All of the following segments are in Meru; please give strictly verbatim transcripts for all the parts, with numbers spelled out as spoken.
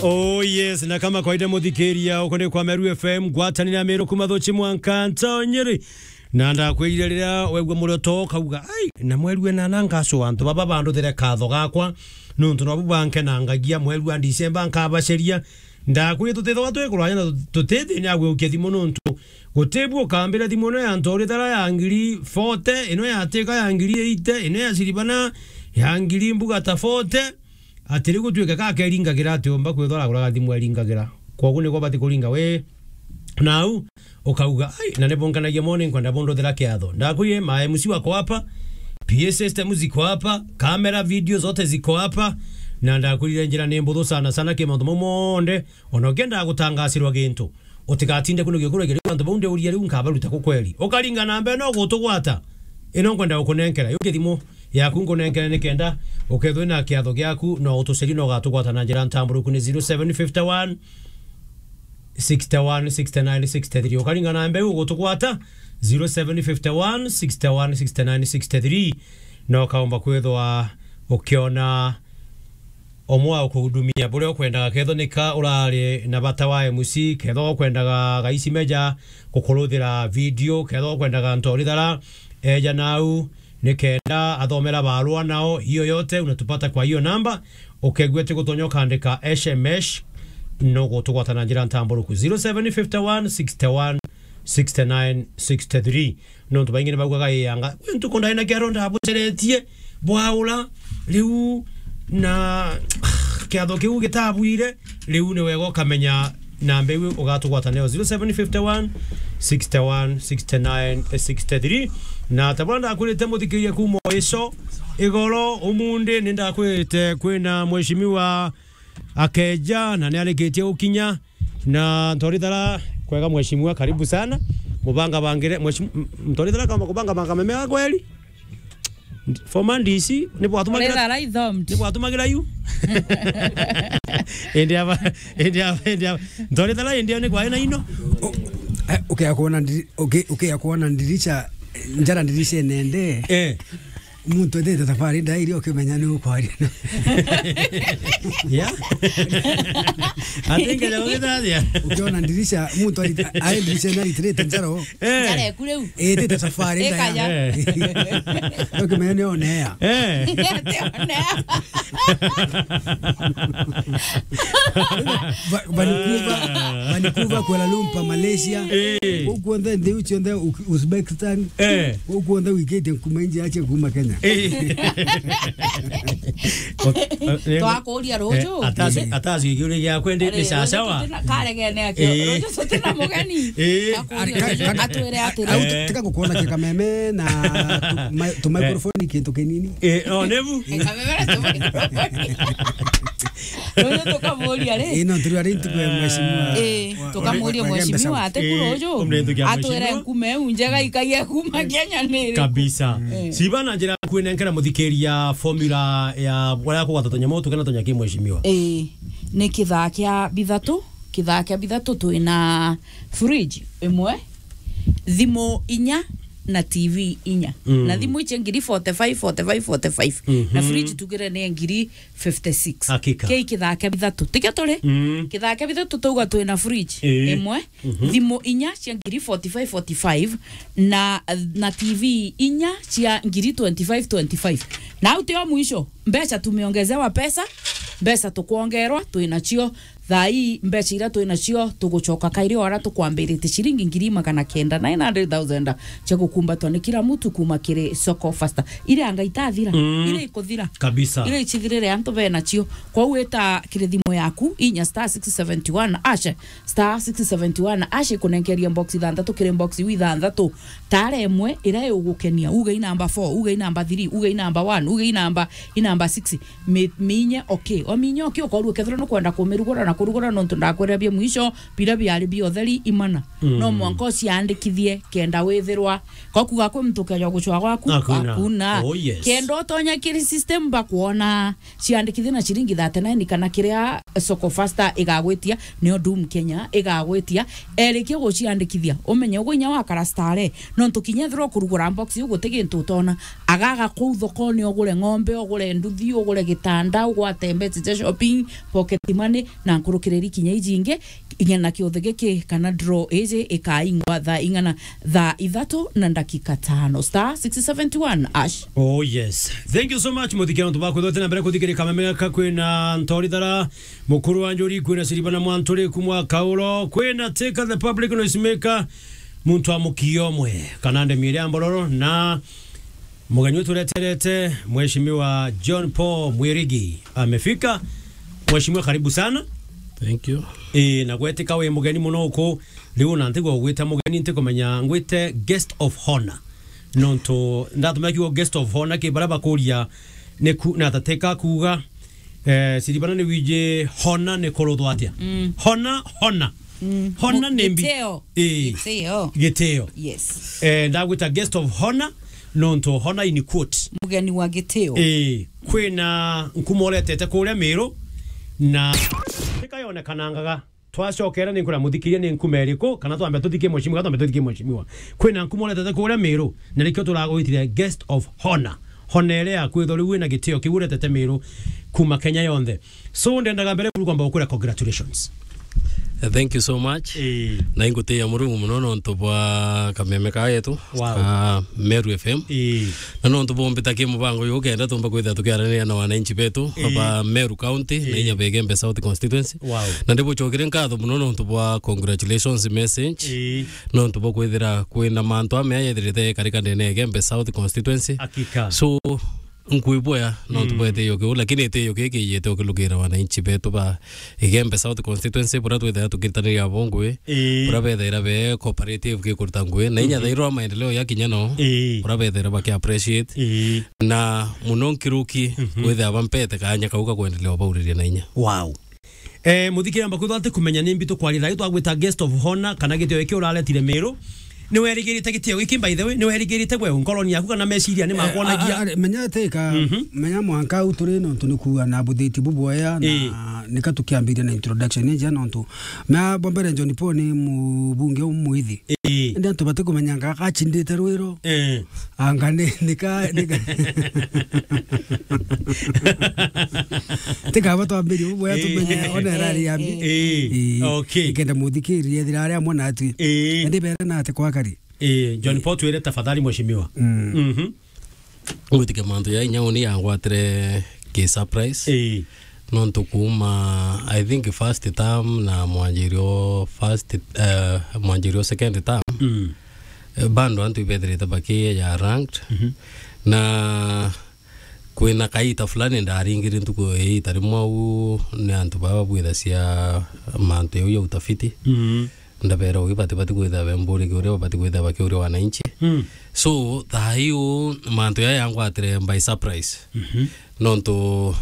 Oh yes, na kama kawaida muthikiria, uko ni kwa Meru F M, ngwatanira Meru kuma Thuchi mwanka Ntonyeri. Na ndakwirire riria wegua murioto ukauga, "Ai, na mweri wena na ngacua antu baba banduthire katho gakwa, nuntu nobu bankenangagia, mweri wa Disemba nkabaceria." Ndakwirire tutithagwa twi kuraya na tutithini agwiukia thimu nuntu gutibu ukambira thimu ino ya ntorithara ya ngiri forty, ino ya tika ya ngiri eighty, ino ya siribana ya ngiri mbuga ta forty. Ati riu gutuike ka akeringagira ati umba kwithwa araguraga thimu eringagira. Kwogu niko bati kuringa wi nau, ukauga, "Ai, na ni bunkanagia mono, nkwenda bunduthira kiatho." Ndakwire, ma M C wako hapa, P A system ziko hapa, camera, video zote ziko hapa, na ndakwirire njira ni mbuthu sana sana ki mauntu mau monthe, ona ukienda gutangasirwa gintu. Utigatinde kunugia kurugia riu antu bau ndiuria riu nkabaruta ku kweri. Ukaringa namba ino gutugwata. Ino nkwenda gukunenkera. Yuke thimu yaku nkunenkere nikenda ukethwe na kiatho giaku no utucerie no ugatugwata na njira ntamburuku ni zero seven fifty one, sixty one, sixty nine, sixty three. Ukaringa namba iu gutugwata zero seven fifty one, sixty one, sixty nine, sixty three. No ukaomba kwithwa ukiona umwe wa ukuhudumia buria ukwendaga, kethwa nika urari na bata wa M C, kethwa ukwendaga gaisi meja kukuruthira video, kethwa ukwendaga ntorithara, eja nau nikenda athomera barua nao, hiyo yote unatupata kwa hiyo namba. Ukegua ti gutonya ukandika S M S, no gutugwata na njira ntamburuku zero seven fifty one sixty one sixty nine sixty three. Nontu baingi ni baugaga, "Ii anga, kwi ntuku ndari na kiaro ndabuceretie bwaura, riu na kiatho kiu gitabwire." Riu ni wega ukamenya namba iu ugatugwata nayo, zero seven fifty one, sixty one, sixty nine, sixty three. Na ta buria ndakwirite muthikiria kuuma o ico igoro, umundi ni ndakwirite kwina mheshimiwa akeja na ni arikitie gukinya. Na Ntorithara, kwega mheshimiwa, karibu sana. Mubanga bangire, mheshimiwa, Ntorithara kama kubanga banga meme ya kweli. Former D C, ni bwatumagira, Ntorithara ithomed. Ni bwatumagira yu. Indi aba, indi aba, indi aba. Ntorithara indi ni kwa ina ino. O, eh, ukea kuona ndiri-, uke-, ukea kuona ndirisha, njara ndirisha nende. Eh. Muntu ethite tafari ndairi ukimenya ni ukwaria. Yeah. Atingeja gugitathia. Ukiona ndirisha, muntu ari-, ari ndirisha na ritirite njaro. Eh. Njara eku riu. Ethite tafari ndaya. Ikaja. Eh. Ukimenya ni onea. Eh. Ati onea. Va-, Vancouver, Vancouver, Kuala Lumpur, Malaysia. Eh. Kuu kuonthe nthi iu cionthe, U-, Uzbekistan. Eh. Kuu kuonthe wikite kuma inji ache kuma Kenya. Eh. Twakuria ruju. Eh, atasi, atasi kiuria giakwe ndi, ni sawa sawa. Karegene akio. Eh. Ruju tutina mugeni. Eh. Twakuria ruju. Atwire atiri. Au, eh, tika gukuona kikameme na tu-, ma-, tu microphone kintu kinini. Eh, no, nebu. Kameme na tu microphone. Ruju tukamuria ri. Ino turi ari ntuku ya mheshimiwa. Eh, wa-, tukamuria wa-, wa-, mheshimiwa ati kuru uju. Atwire nkume iu njega ikagia kuma Kenya ni iriku? Kabisa. Eh. Siba na njira kwinenkera muthikiria formula ya uria kugwata tunyamu tukena tunya ki mheshimiwa. Eh, ni kithaa kia bithatu, kithaa kia bithatu twina fridge imwe, thimu inya na T V inya. Mm. Na thimu icio ngiri forty-five, forty-five, forty-five. Na, mhm, fridge tugire ni ngiri fifty-six. Hakika. Kei kithaa kia bithatu. Tikio turi? Mm. Kithaa kia bithatu twauga twina fridge, eh, imwe, mhm, thimu inya cia ngiri forty-five, forty-five, na, na T V inya cia ngiri twenty-five, twenty-five. Na au tio mwisho, mbeca tumeongezewa pesa, mbeca tukwongerwa, twinacio. Thaa ii mbeca iria twinacio tugucoka kairi o aria tukwambirite ciringi ngiri magana kenda, nine hundred thousand, cia gukumbatwa ni kila mtu kuma kiri Soko Fasta. Iria anga itathira, mm, iria ikuthira. Kabisa. Iria icithirire antu benacio. Kwou wita kiri thimu yaku, inya star six seventy one hash, star six seventy one hash, ikunenkeria box ithanthatu, kiri box iu ithanthatu, tara imwe iria igugukenia. Uge i namba four, uge i namba three, uge i namba one, uge i namba, i namba six. Mi-, minye, okay. Ominye, okay, ukorwo ukethirwa nukwenda kumirugura na kurugura, nontu ndakwira bia mwisho, biria biari bia utheri imana. Mm. No mwanka uciandikithie kenda withirwa. Ko kuga kwi muntu ukeja gucwa gwaku? Hakuna. Hakuna. Oh, yes. Kenda utonya kiri system bakwona ciandikithie na ciringi thirty-nine kana kiria Soko Fasta igagwitia, nio Doom Kenya igagwitia. Erikia guciandikithia, umenye ugu inya wakara stare. Nontu kinya ethirwa ukurugura box iu guti gintu utona. Agaga kuu thokone, ugure ng'ombe, ugure nduthi, ugure gitanda, ugwate mbeca cia shopping, pocket money, na kurukiriri kinya iji ingi, ing'ana kiothe giki kana draw iji ikaingwa thaa ing'ana, thaa ithatu na ndakika tano. Star six seven two one ash. Oh yes. Thank you so much, muthikira antu bakwithwa tena mbere kuthikirika kameme gaka. Kwina Ntori Thara, Mukuru wa Njuri, kwina Siribana Mwanturi, kumwa Kauro, kwina Teka the Public Noise Maker, muntu wa mukio omwe, kana ndemi iria mbororo, na mugeni wetu ureterete, Mheshimiwa John Paul Mwirigi amefika. Mheshimiwa, karibu sana. Thank you. Ii, na gwetika wi mugeni muno uku, riu na ntigwa ugwita mugeni, ntikumenya ngwite guest of honor. Nontu ndatumira kiugo guest of honor ki baria bakuria ni ku-, na tateka kuuga, eh, Siribana ni wiji hona ni kuruthwa atia? Mm. Hona, hona. Mm. Hona ni mbi-, gitio. Ii. Gitio. Gitio. Yes. Eh, ndagwita guest of honor, nontu hona in quote. Mugeni wa gitio. Ii. Kwina nkuma uretete kuria Miru, na tika yonekanangaga. Twacokera ni nkuria muthikiria ni nkuma iriku, kana twambe tuthikie mheshimiwa, kana twambe tuthikie mheshimiwa. Kwina nkuma uretete kuria Miru, na nikio turagwitire guest of honor. Honere ya kwithwa riu wina gitio kiu uretete Miru kuma Kenya yonthe. So, ndendaga mbere buru kwamba gukwira congratulations. Eh, thank you so much. Ii. Na ingutiia Murungu muno nontu bwa kameme ka yetu, wow, ka Meru F M. Ii. Na nontu bombita ki mubango uyu ukenda tumba kwithira tukiaraniria na wananchi betu, ii, ba Meru County, ii, na inya ba Igembe South Constituency. Wow. Na ndibucokire nkatho muno nontu bwa congratulations message. Ii. Nontu bwa kwithira kwina mantu amea yethirite karika ndene ya Igembe South Constituency. Hakika. So, nkwibwea nontu, mm, bwa itio kiu, lakini itio kiu kiiyite ukilukira wananchi betu ba Igembe South Constituency, buria twithaira tukirutaniria abo ngui, ii, buria bethaira be cooperative gikuruta ngui, na inya, mhm, thairwa maendeleo ya kinya no, ii, buria bethaira baki appreciate, ii, na muno nkiruki, mhm, kwithira bampete kanya kau ga kwendelea ubauriria na inya. Wow. Eh, muthikiri amba kwithwa ati kumenya ni mbi tukwaria thaai twagwita guest of honor kana gitio giki uraretire Miru. Ni werigirite gitio giki, by the way? Ni werigirite gwe nkoroni yaku kana meciria ni, eh, makwonagia? A, a, menya ati ka, mhm, menya mwanka au turi nontu ni kuuga na buthiti bubwea na, ii, nika tukiambiria na introduction ni njia nontu mea bwa mbere John Paul ni mubunge umwithi. Ii. Indi antu bati kumenya nga gachindite rwiro. Eh. Anga ni, ni ka, ni ka. Tikaba twambirie bubwea, ii, tumenye ona irari ya mbi. Ii. Ii. Okay. Ikenda muthikiriria ethira ari amwe natwi. Ii. Indi bere na ati kwakari. Ii. John Paul, twire tafadhali mheshimiwa. Mm. Mhm. Ngwitikia mantu ya inya uni yangwatire ki surprise. Ii. Nontu kuuma, I think, first term na mwanjirio first, eh, mwanjirio second term, mm, eh, bado antu ibethirite bakiya ya ranked. Mhm. Na kwina kaita fulani ndaringiri ntuku iita rimwe au ni antu baba babwithacia mantu jau ya utafiti. Mhm. Ndabera ugi bati, bati kwithira bemburikia uria babati kwithira bakiuria wananchi. Mm. So, thaa iu mantu jaya yangwatire by surprise. Mhm. Nontu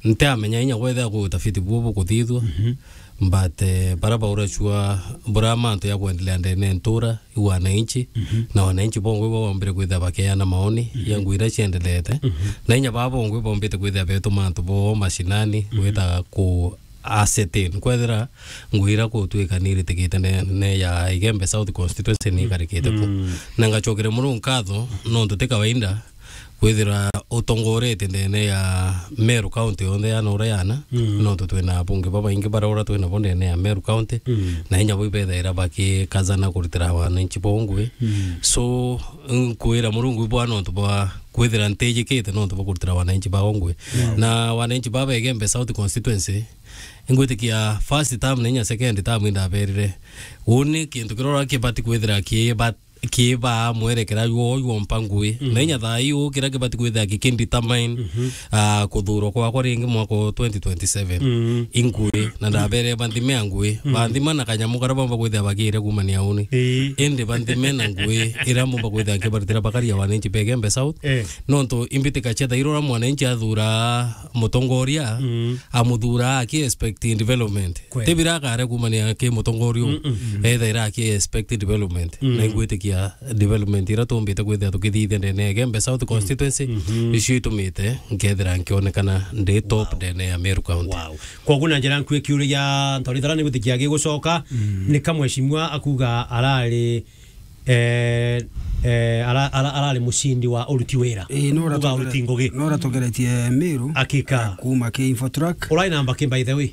ntiamenya inya kwethira ku utafiti bubu bukuthithua. Mhm. But, eh, bara bauracua bura mantu ya kwendelea ndene ntura, i wananchi, mhm, na wananchi bongwe bo bombire kwithira bakeana maoni, mhm, ya ngui iria ciendelete. Mhm. Na inya baba bongwe bombite kwithira betuma antu bo mashinani, mhm, gwita ku ascertain kwethira ngui iria kutwika ni iritikite ne, ne ya Igembe South Constituency ni ikarikite ku. Mm. Na ngacokere Murungu nkatho, nontu ti kawaida kwithira utongorete ndene ya Meru County yonthe yana uria yana, mm, nontu twina abunge babaingi baria uria twinabo ndene ya Meru County, mm, na inya bo ibethaira bakikazana kurutira wananchi bo ngui. Mm. So, nkwira Murungu ibwa nontu bwa kwithira ntijikite nontu bwa kurutira wananchi bao ngui. Mm. Na wananchi baba Igembe South Constituency, ingwitikia first term na inya second term indaberire, uni kintu kirora kibati kwithira kiba-, kibaa mwerekera jwo jwompa ngui. Mm. Na inya thaa iu kiria kibati kwithira gikindetermine, mhm, ah, kuthurwa kwakwa ringi mwaka wa twenty twenty-seven. Mm. I ngui, na ndabere banthime a ngui. Mm. Banthima na kanyamu karia bamba kwithira bagire kumania uni. Ii. Indi banthime na ngui iria mbumba kwithira nkibarutira bakaria wananchi ba Igembe South. Eh. Nontu imbitika cia thairora mwananchi athura mutongoria, mm, amuthura aki expecting development. Kweli. Ti bira akare kumania ki mutongoria u, mm, mm, ethaira aki expecting development. Mm. Na ingwitikia development iria tumbite kwithira tukithithia ndene ya Igembe South, mm, Constituency, mhm, nicio itumite nkethira nkionekana ndi top, wow, ndene ya Meru County. Wow. Koguo na njira nkui kiuria gia Ntori Thara ni gwitikia gigucoka, mm, ni ka mheshimiwa akuga arari eh, eh, ara-, ara-, arari mucindi wa uruti wira. Ii, no uga uratugere-, uruti ngugi. No uratugeretie Miru. Hakika. Kuma ki Infotrack. Urai namba ki, by the way?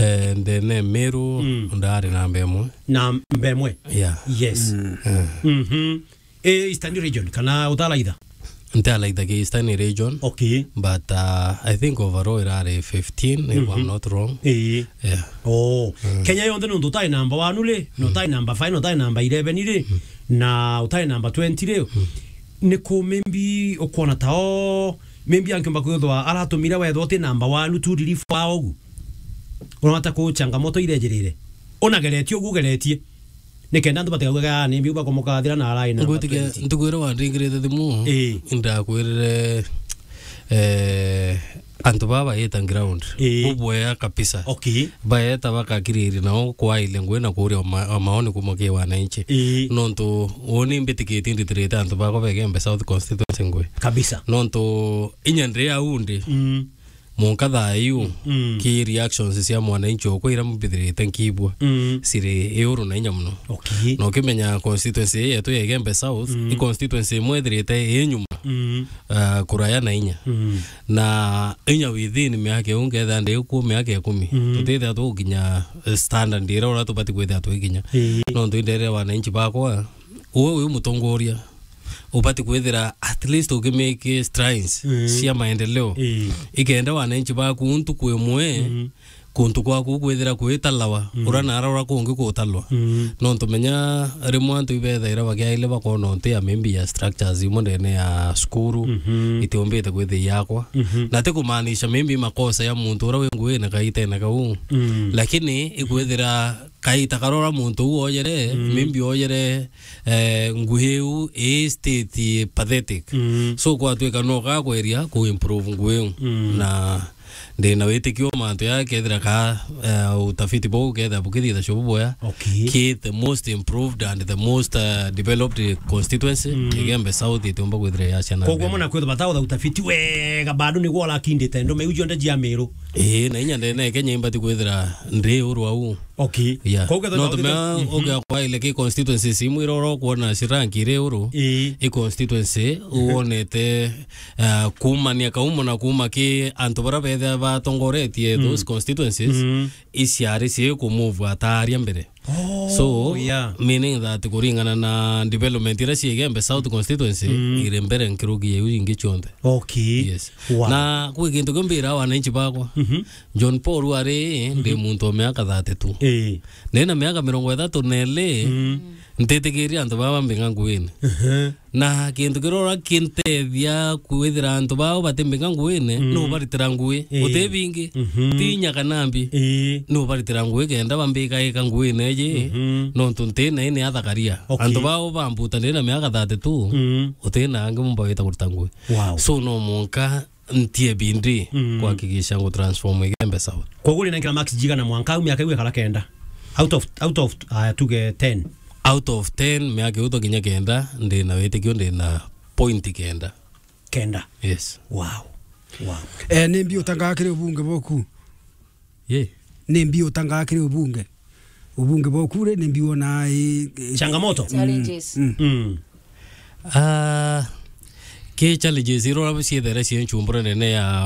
Eh, ndene Meru, Mm. ndari namba imwe. Namba imwe? Yeah. Yes. Mm. Eh. Mhm. Eh, Eastern region, kana utalaitha? Ntalaitha ki Eastern region. Okay. But, uh, I think overall irari fifteen, if I'm Mhm. not wrong. Eh. Yeah. Oh. Mm. Kenya yonthe nontu utai namba one ri, na Mm. utai namba five, na utai namba eleven ri, Mm. na utai namba twenty ri, Mm. ni ku maybe ukwona ta o, maybe ankiumba kwithwa aratumire wethwa uti namba one tu relief wa ugu. Urona ta ku changamoto irejirire. Unageretie ugu ugeretie. Nikenda antu batigaugaga, "Ah, ni mbiu bakomokathira na arai na namba Ngwitikia twenty." ntuku iria wandingirite thimu, Ii. ndakwirire, eh, antu baba baita ground. Ii. Bubwea kabisa. Okay. Baeta bakakiriria nao kwaile ngui na kuria ma-, maoni kuma ki wananchi. Ii. Nontu uni mbitikitie nditirite antu bakwa ba Igembe South constituency ngui. Kabisa. Nontu inya ndi au ndi. Mm. Mwanka thaa iu, Mm. ki reactions cia mwananchi okwa iria mbithirite nkibua, Mm. ciri iuru na inya mono. Okay. Na ukimenya constituency ii yetu ya Igembe South, Mm. i constituency imwe ithirite i nyuma, Mm. ah, kuraya na inya. Mm. Na inya within miaka iu nkethira ndi kuo miaka ikumi. Mm. Tutithira tugukinya, eh, standard iria uria tubati kwithira twikinya. Ii. Nontu indere wananchi bakwa, uwe wi mutongoria, ubati kwithira at least ukimake strides Mm. cia maendeleo. Ii. Ikenda wananchi baku ntuku imwe, Mm. kuntu kwaku kwithira kwitalawa, Mm. ura nara ura kungi kutalwa. Mm. Nontu menya rimwe antu ibethaira bakiaile bakona untu ya maybe ya structures imwe ndene ya cukuru, Mhm. itiumbite kwithia yakwa. Mhm. Na ti kumaanisha maybe makosa ya muntu ura wi nguine kaitene kau. Mm. Lakini ikwithira kaita karora muntu uu oyere, Mm. maybe oyere, eh, ngui iu i state pathetic. Mm. So, kwatwika no gakweria ku improve ngui iu. Mm. Na ndina witikio mantu ya kethira ka, eh, utafiti bou kethira bukithitha cio bubwea. Okay. Ki the most improved and the most, eh, developed constituency, Mm. Igembe South itiumba kwithira ya ciana Koguo ndene. Mona kwithwa batautha utafiti wega, bado niguo arakindite ndume iu cionthe cia Miru. Ii, na inya ndene Kenya imbati kwithira ndi uru au. Okay. Yeah. Kwa ugetha Nontu mea, mhm. ugia kwaile ki constituencies imwe iroro kuona ciranki iri uru. Ii. I constituency uonete, uh, kumania kaumo na kuma ki antu bara bethe batongoretie Mm. those constituencies, Mm. iciari cie kumove ataria mbere. Oh, So, yeah. meaning that kuringana na development ira cie Igembe South constituency, Mm. iri mbere nkiruki ya iu ingi cionthe. Okay. Yes. Wow. Na kwi kintu kiu mbira wananchi bakwa. Mhm. John Paul ari, ndi Mhm. muntu wa miaka thirty-two. Ii. Ndina miaka mirongo ithatu na iri, Mm. ntitikiria antu baba mbinga nguine. Mhm. Na kintu kiria ura kintethia kwithira antu bao batimbinga nguine, Mm. no baritira ngui. Ii. Uti bingi, Mhm. ti inya kana mbi. Ii. No baritira ngui kenda bambika ika nguine iji, Mhm. nontu nti na ini athakaria. Okay. Antu bao bambuta ndina miaka thirty-two, Mm. uti na angi mumba wita kurita ngui. Wow. So no mwanka ntie bindi Mm. kuhakikisha ngu transform Igembe South. Koguo uri na nkira marks jigana mwanka au miaka iu ikara kenda? Out of, out of, aya, tuge ten. Out of ten, miaka iu twakinya kenda, ndi na witikio ndi na point kenda. Kenda? Yes. Wow. Wow. Eh, ni mbi utangaa kiri ubunge boku? Ye. Ni mbi utangaa kiri ubunge? Ubunge boku ri, ni mbi wona i, i, Changamoto? Challenges. Mm. Mm. Ah, ki challenges irora ciethere cie nchumbura nene ya